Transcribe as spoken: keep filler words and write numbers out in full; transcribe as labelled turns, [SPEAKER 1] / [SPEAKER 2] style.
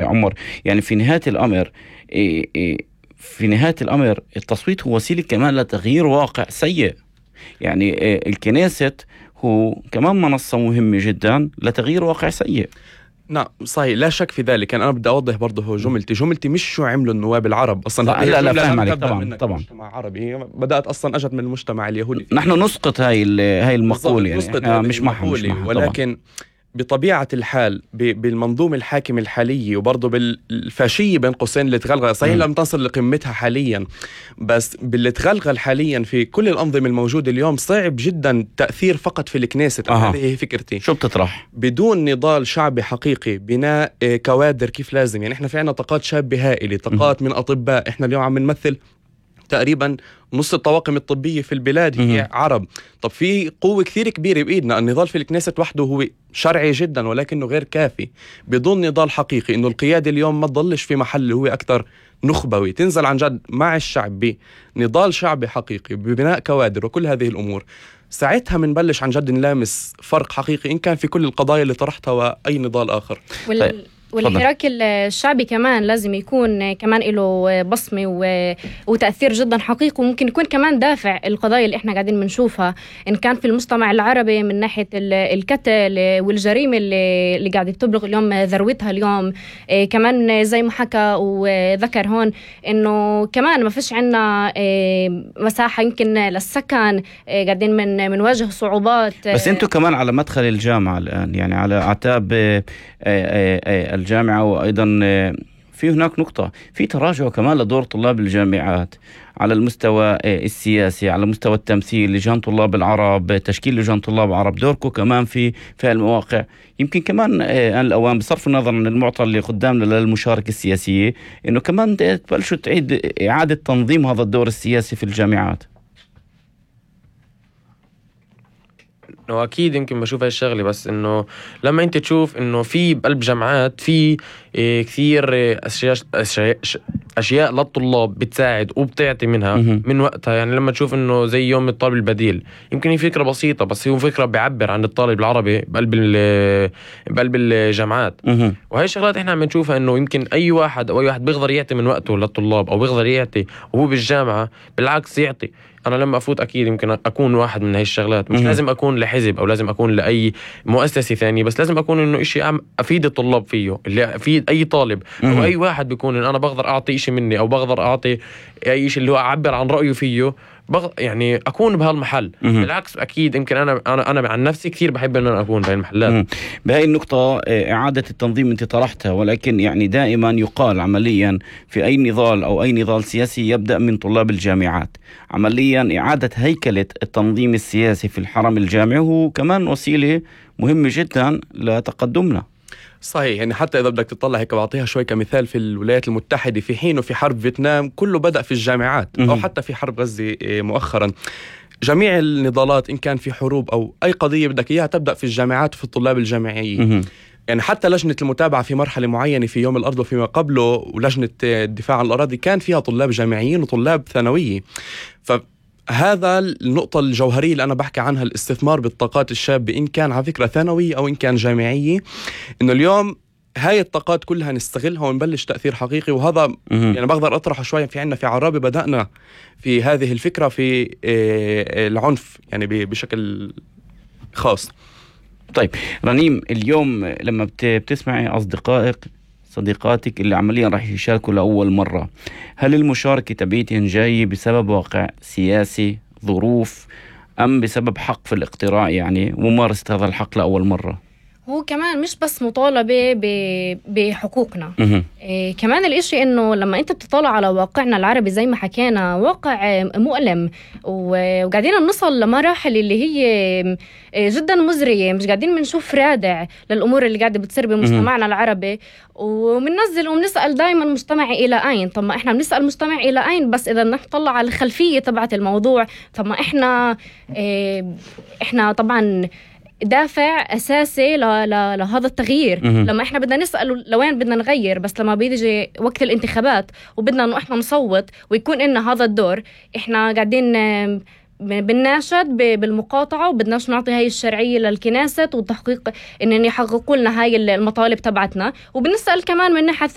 [SPEAKER 1] عمر، يعني في نهاية الأمر في نهاية الأمر التصويت هو وسيلة كمان لتغيير واقع سيء. يعني الكنيسة هو كمان منصة مهمة جدا لتغيير واقع سيء.
[SPEAKER 2] نعم صحيح، لا شك في ذلك. أنا بدي أوضح برضه هو جملتي جملتي مش شو عملوا النواب العرب أصلا.
[SPEAKER 1] لا لا فاهم عليك طبعا طبعا.
[SPEAKER 2] مجتمع عربي بدأت أصلا أجت من المجتمع اليهودي.
[SPEAKER 1] نحن نسقط هاي هاي المقولة، يعني مش محمولة،
[SPEAKER 2] ولكن بطبيعة الحال بالمنظومة الحاكمة الحالية وبرضه بالفاشية بين قوسين اللي تغلغل، صحيح لم تصل لقمتها حاليا، بس باللي تغلغل حاليا في كل الأنظمة الموجودة اليوم صعب جدا تأثير فقط في الكنيسة.
[SPEAKER 1] أه.
[SPEAKER 2] هذه هي فكرتي.
[SPEAKER 1] شو بتطرح؟
[SPEAKER 2] بدون نضال شعبي حقيقي، بناء كوادر كيف لازم. يعني احنا في عنا طاقات شابة هائلة، طاقات من أطباء. احنا اليوم عم نمثل تقريبا نص الطواقم الطبية في البلاد هي
[SPEAKER 1] مم.
[SPEAKER 2] عرب. طب في قوة كثير كبيرة بإيدنا. النضال في الكنيسة وحده هو شرعي جدا ولكنه غير كافي. بدون نضال حقيقي إنه القيادة اليوم ما تضلش في محل هو أكثر نخبوي، تنزل عن جد مع الشعب بنضال شعبي حقيقي ببناء كوادر وكل هذه الأمور، ساعتها منبلش عن جد نلامس فرق حقيقي إن كان في كل القضايا اللي طرحتها وأي نضال آخر.
[SPEAKER 3] وال... والحراك الشعبي كمان لازم يكون كمان له بصمة وتأثير جدا حقيقي، وممكن يكون كمان دافع القضايا اللي احنا قاعدين بنشوفها إن كان في المجتمع العربي من ناحية القتل والجريمة اللي, اللي قاعدة تبلغ اليوم ذروتها اليوم. كمان زي ما حكى وذكر هون إنه كمان ما فيش عنا مساحة يمكن للسكن، قاعدين من منواجه صعوبات.
[SPEAKER 1] بس انتوا كمان على مدخل الجامعة الآن، يعني على أعتاب الجامعة، وأيضا في هناك نقطة في تراجع كمان لدور طلاب الجامعات على المستوى السياسي، على مستوى التمثيل، لجان طلاب العرب، تشكيل لجان طلاب العرب، دوركم كمان في في المواقع. يمكن كمان آن الأوان بصرف النظر عن المعطى اللي قدامنا للمشاركة السياسية إنه كمان تبلشوا تعيد إعادة تنظيم هذا الدور السياسي في الجامعات.
[SPEAKER 4] انه اكيد يمكن بشوف هاي الشغله، بس انه لما انت تشوف انه في بقلب جامعات في إيه كثير اشياء اشياء, أشياء للطلاب بتساعد وبتعطي منها من وقتها. يعني لما تشوف انه زي يوم الطالب البديل، يمكن هي فكره بسيطه بس هي فكره بيعبر عن الطالب العربي بقلب بقلب الجامعات. وهي الشغلات احنا عم نشوفها انه يمكن اي واحد او اي واحد بيقدر يعطي من وقته للطلاب او بيقدر يعطي وهو بالجامعه، بالعكس يعطي. أنا لما أفوت أكيد يمكن أكون واحد من هاي الشغلات، مش لازم أكون لحزب أو لازم أكون لأي مؤسسة ثانية، بس لازم أكون إنه إشي أفيد الطلاب فيه، اللي أفيد أي طالب أو أي واحد بيكون إن أنا بقدر أعطي إشي مني أو بقدر أعطي أي إشي اللي هو أعبر عن رأيه فيه، بغ... يعني أكون بهالمحل. بالعكس أكيد يمكن أنا أنا أنا عن نفسي كثير بحب إن أنا أكون بهاي المحلات.
[SPEAKER 1] بهاي النقطة إعادة التنظيم أنت طرحتها، ولكن يعني دائما يقال عمليا في أي نضال أو أي نضال سياسي يبدأ من طلاب الجامعات. عمليا إعادة هيكلة التنظيم السياسي في الحرم الجامعي هو كمان وسيلة مهمة جدا لتقدمنا.
[SPEAKER 2] صحيح. يعني حتى إذا بدك تطلع هيك بعطيها شوي كمثال، في الولايات المتحدة في حين وفي حرب فيتنام كله بدأ في الجامعات، أو حتى في حرب غزة مؤخرا. جميع النضالات إن كان في حروب أو أي قضية بدك إياها تبدأ في الجامعات وفي الطلاب الجامعيين. يعني حتى لجنة المتابعة في مرحلة معينة في يوم الأرض وفيما قبله، ولجنة الدفاع عن الأراضي كان فيها طلاب جامعيين وطلاب ثانوية. فهذا النقطة الجوهرية اللي أنا بحكي عنها، الاستثمار بالطاقات الشابة إن كان على فكرة ثانوية أو إن كان جامعية، إنه اليوم هاي الطاقات كلها نستغلها ونبلش تأثير حقيقي. وهذا يعني بقدر أطرحه شوية. في عنا في عرابة بدأنا في هذه الفكرة في العنف يعني بشكل خاص.
[SPEAKER 1] طيب رنيم، اليوم لما بتسمعي أصدقائك صديقاتك اللي عمليا راح يشاركوا لأول مرة، هل المشاركة تبعيتهم جاي بسبب واقع سياسي، ظروف، أم بسبب حق في الاقتراع يعني وممارسة هذا الحق لأول مرة؟
[SPEAKER 3] هو كمان مش بس مطالبة بحقوقنا، إيه كمان الاشي انه لما انت بتطالع على واقعنا العربي زي ما حكينا واقع مؤلم، وقاعدين نصل لمراحل اللي هي جدا مزرية، مش قاعدين بنشوف رادع للأمور اللي قاعدة بتصير بمجتمعنا العربي، ومننزل ومنسأل دايما مجتمع إلى أين. طب ما إحنا بنسأل مجتمع إلى أين، بس إذا نطلع على الخلفية تبعت الموضوع، طب ما إحنا إيه إحنا طبعا دافع أساسي ل... ل... لهذا التغيير. م- لما إحنا بدنا نسأل لوين بدنا نغير، بس لما بيجي وقت الانتخابات وبدنا إنه إحنا نصوت ويكون إننا هذا الدور، إحنا قاعدين بنناشد بالمقاطعة وبدناش نعطي هاي الشرعية للكنيسة وتحقيق إن يحققوا لنا هاي المطالب تبعتنا. وبنسأل كمان من ناحية